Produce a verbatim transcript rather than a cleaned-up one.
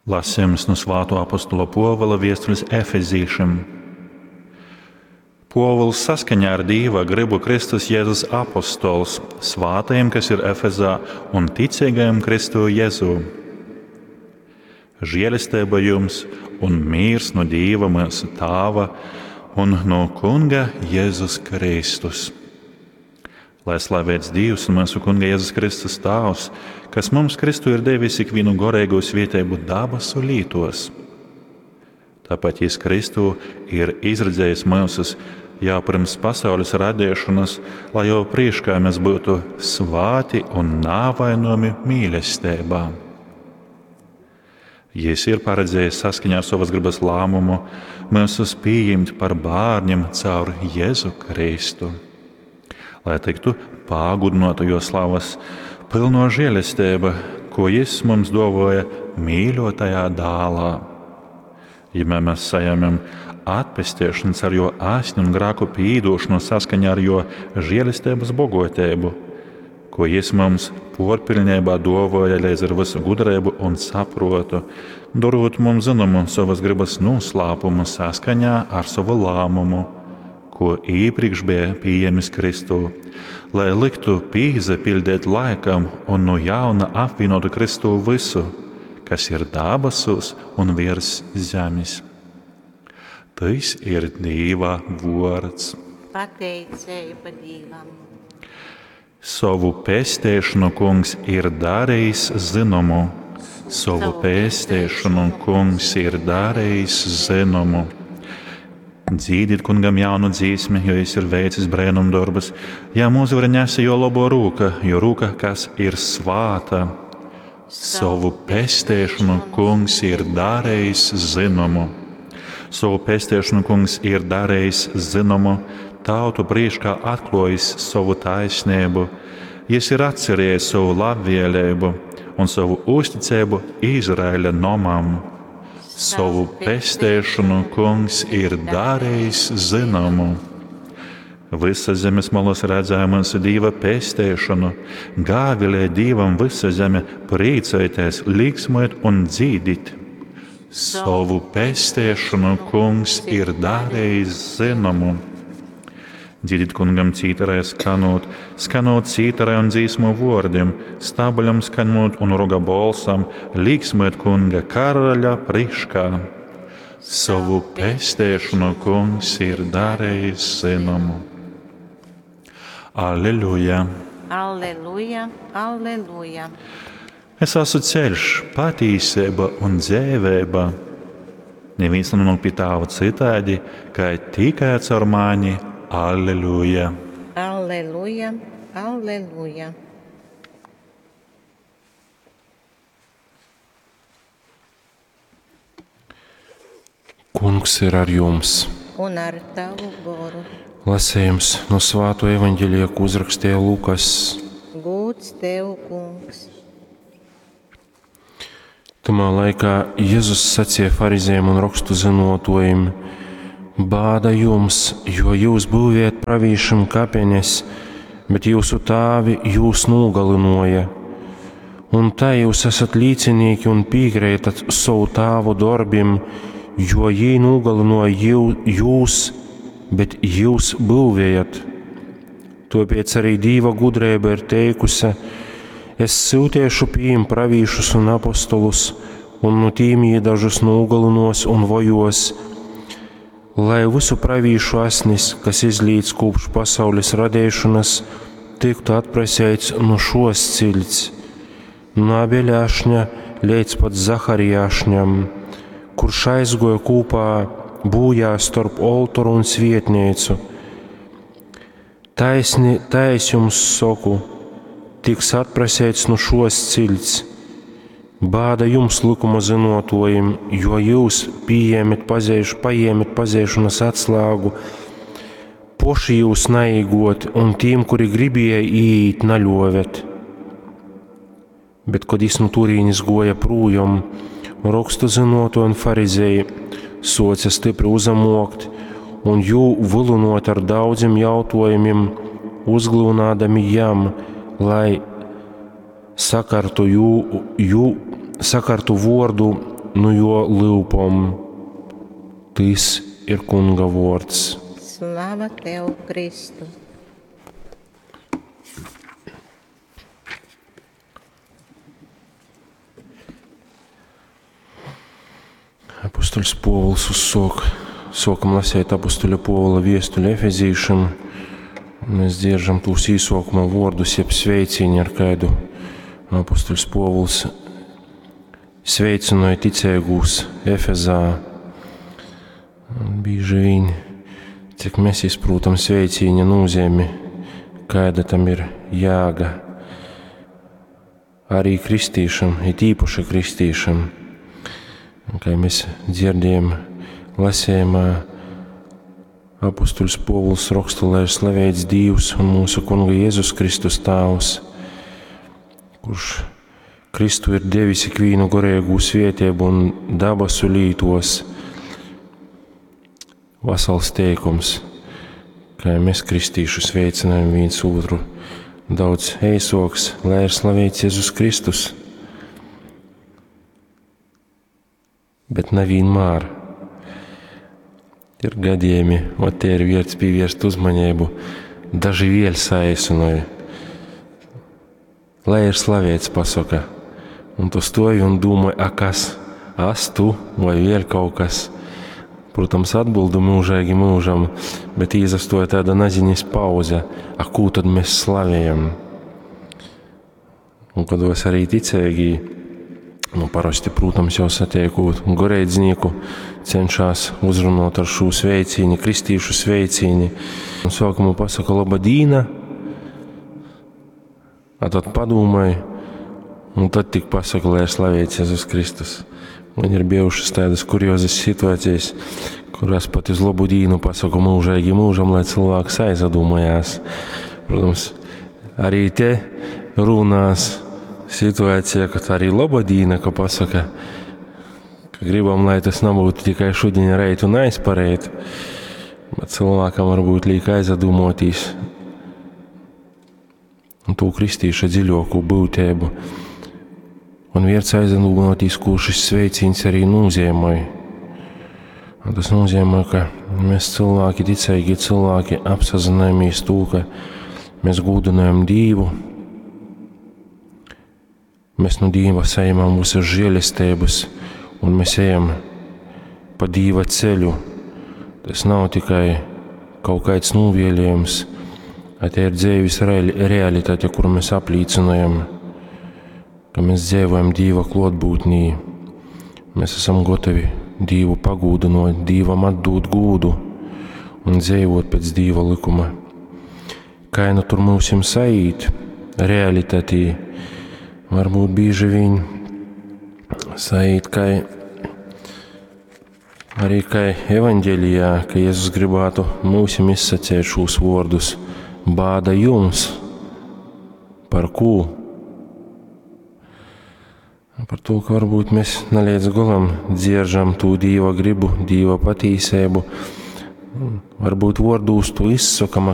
Lasījums no Svāto apostola Pōvula viestules Efezīšim. Pōvuls saskaņā ar Dīva gribu Kristus Jēzus apostols svātajiem, kas ir Efezā, un ticīgajiem Kristu Jēzū. Žēlestība jums un mīrs no Dīva mūsu Tāva un no Kunga Jēzus Kristus. Lai slavēts Dievs un mūsu Kunga Jēzus Kristus Tāvs, kas mums Kristu ir devis ikvienu gorēgo svietēbu dabasu lītos. Tāpat Jis Kristu ir izredzējis mūsus jau pirms pasaules radīšanas, lai jau priekšā mēs būtu svāti un nāvainojami mīlestībā. Jis ir paredzējis saskaņā ar savas gribas lēmumu mūsus pieņemt par bērniem caur Jēzu Kristu, lai tiktu pagudinota jo slavas pilno žēlestība, ko Jis mums dovoja mīļotajā dālā. Ja mēs saņemam atpestīšanas ar jo asni un grēku pīdošanu saskaņā ar jo žēlestības bogotību, ko Jis mums porpilnībā dovoja līdz ar visu gudrību un saprotu, darot mums zināmu savas gribas noslēpumu saskaņā ar savu lēmumu, ko iepriekš bija pieņēmis Kristu, lai liktu pīzepildīt laikam un no jauna apvienotu Kristu visu, kas ir dabasos un virs zemes. Tas ir Dīva vārds. Pateicība Dīvam. Savu pestēšanu kungs ir darījis zināmu. Savu pestēšanu kungs ir darījis zināmu. Dzīdiet kungam jaunu dzīsmi, jo jis ir veicis brēnumdarbus. Jā, mūsu var nesa jo labo rūka, jo rūka, kas ir svāta. Savu pestēšanu kungs ir darījis zināmu. Savu pestēšanu kungs ir darījis zināmu, tautu priekšā atklājis savu taisnību. Jis ir atcerējies savu labvēlību un savu uzticību Izraēļa nomam. Savu pestēšanu kungs ir darījis zināmu. Visa zemes malas redzēja mūsu Dieva pestēšanu. Gāvilē Dievam visa zeme, priecājieties, līksmojiet un dzīdit. Savu pestēšanu kungs ir darījis zināmu. Dziediet kungam cītarai skanot, skanot cītarai un dzīsmu vārdiem, stabuļam skanot un roga bolsam, līksmojiet kunga karaļa priekšā. Savu pestēšanu kungs ir darījis zināmu. Alleluja! Alleluja, alleluja! Es esmu ceļš, patīsība un dzīvība. Neviens nenonāk pie tāva citādi, kā tikai caur mani. Alleluja! Alleluja, alleluja! Kungs ir ar jums. Un ar tavu goru. Lasījums no Svāto evaņģēlija, ko uzrakstīja Lukas. Gūts tev, kungs. Tamā laikā Jēzus sacīja farizējiem un rakstu zinotojiem: Bāda jums, jo jūs būvējat pravīšiem kapenes, bet jūsu tēvi jūs nogalināja. Un tā jūs esat līdzinieki un piekrītat savu tēvu darbim, jo jī nogalināja jūs, bet jūs būvējat. Tāpēc arī Dieva gudrība ir teikusi: Es sūtiešu pie jiem pravīšus un apostolus, un no tīm jī dažus nogalinos un vojos, lai visu pravīšu asnis, kas izlīdz kopš pasaules radīšanas, tiktu atprasēts no šos cilts, no Abeļa ašņa līdz pat Zaharija ašņam, kurš aizgoja kopā bojā starp oltoru un svietnīcu. Taisni, tais jums saku, tiks atprasēts no šos cilts. Bāda jums, likuma zinotojiem, jo jūs pieņēmat pazēš, paņēmat pazēšanas atslēgu, poši jūs naīgot, un tiem, kuri gribēja iet, naļovet. Bet, kad jis no turīnes goja prūjom, rakstu zinotoji un farizēji soca stipri uzamokt un jū vilinot ar daudziem jautājumiem, uzglūnādami jam, lai sakartu jū, jū, sakartu vārdu nu juo lyupom. Tys ir Kunga vuords. Slava tev, Kristu! Apustuļs Puovuls uzsuok, suokam laseit apustuļa Puovula viestuli Efezīšim. Mēs dzieržam tūs īsuokuma vuordus, jeb sveicīņu, ar kaidu apustuļs Puovuls sveicynoja ticeigūs Efezā. Un bīži viņ, cik mēs izprūtam sveicīņa nozīmi, kāda tam ir jēga. Arī kristīšam, it īpaši kristīšam. Kā mēs dzirdējam lasījumā, apustuļs Povuls raksta, lai ir slavēts Dievs un mūsu Kunga Jēzus Kristus Tāvs, kurš Kristu ir devis ikvīnu gorēgu svētību un dabasu lītos. Vasals teikums, kā mēs kristīšu sveicinājam viens otru, daudz eisoks, lai ir slavēts Jēzus Kristus. Bet nevienmēr. Ir gadījumi, un te ir vērts pievērst uzmanību, daži vēļ saīsinoja. Lai ir slavēts, pasaka, un tu stovi un domāji, a kas, as tu vai vēl kaut kas. Protams, atbildu mūžīgi mūžam, bet īzastoja tāda naziņas pauze, a kū tad mēs slavējam? Un kādos arī ticīgi, nu, parasti, protams, jau satiekot goreidzīnieku, cenšas uzrunāt ar šo sveicīni, kristīšu sveicīni. Un sākumā pasaka laba dīna, a tad padomāj, un tad tik pasaka, lai ir slavēts Jēzus Kristus. Man ir bijušas tādas kuriozas situācijas, kurās pat uz labu dīnu pasaku mūžīgi mūžam, lai cilvēks aizdomājās. Protams, arī te runās situācija, kad arī laba dīna, ka pasaka, ka gribam, lai tas nebūtu tikai šodien, reit un aizpareit, bet cilvēkam varbūt liek aizdomāties un to kristīša dziļāko būtību. Un vērts aizdomāties, ko šis sveiciens arī nozīmē. Un tas nozīmē, ka mēs cilvēki, ticīgi cilvēki, apsazināmies to, ka mēs gūdinājam Dievu, mēs no Dieva saņemam visas žēlestības, un mēs ejam pa Dieva ceļu. Tas nav tikai kaut kāds novēlējums, bet te ir dzīves realitāte, kuru mēs apliecinājam, ka mēs dzīvojam Dieva klātbūtnī. Mēs esam gatavi Dievu pagūdinot, Dievam atdot gūdu un dzīvot pēc Dieva likuma. Kā nu tur mums saīt realitātī, varbūt bieži vien saīt, kā arī kā evaņģēlijā, ka Jēzus gribētu mūsim izsacīt šos vārdus: bāda jums, par ko? Par to, ka varbūt mēs ne līdz galam dzieržam to Dieva gribu, Dieva patīsību. Varbūt vārdos to izsakam,